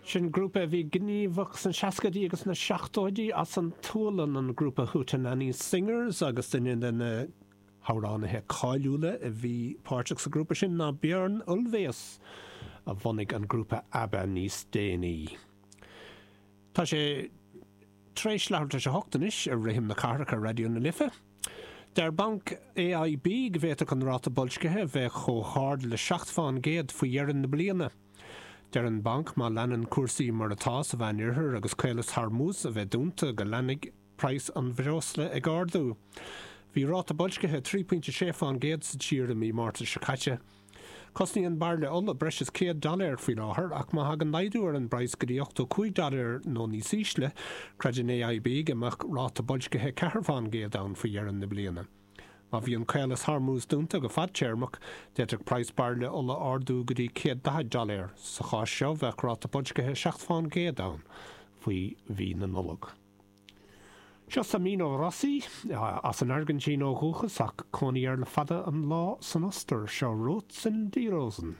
Sin grúpa a bhí gníomhach sna seascaidí agus sna seachtóidí as an tSualainn, an grúpa Hootenanny Singers, agus duine de na hamhránaithe cáiliúla a bhí páirteach sa ghrúpa sin ná Björn Ulvaeus, a bhunaigh an grúpa ABBA níos déanaí. Tá sé tar éis leathuair tar éis a hocht anois ar Rithim na Cathrach ar Raidió na Life. Deir Banc AIB go bhféadfadh an ráta boilscithe a bheith chomh hard le 7 fán gcéad faoi dheireadh na bliana. Deir an banc má leanann cúrsaí mar atá sa Mheánoirthear agus Caolas Hormuz a bheith dúnta go leanfaidh praghas an bhreosla ag ardú. Bhí ráta boilscithe 3.6 fán gcéad sa tír i mí Márta seo caite. Cosnaíonn bairille ola breis is 100 dollar faoi láthair ach má thagann laghdú ar an bpraghas go dtí 85 dollar nó níos ísle, creideann AIB go mbeadh ráta boilscithe 4 fán gcéad ann faoi dheireadh na bliana. Má bhíonn Caolas Hormuz dúnta go fadtéarmach, d'fhéadfadh praghas bairille ola ardú go dtí 140 dollar. Sa chás seo, bheadh ráta boilscithe 7 fán gcéad ann faoi mhí na Nollag. Seo Sabino Rossi, as an Airgintín ó dhúchas ach cónaí air le fada an lá san Ostair. Seo Rot sind die Rosen.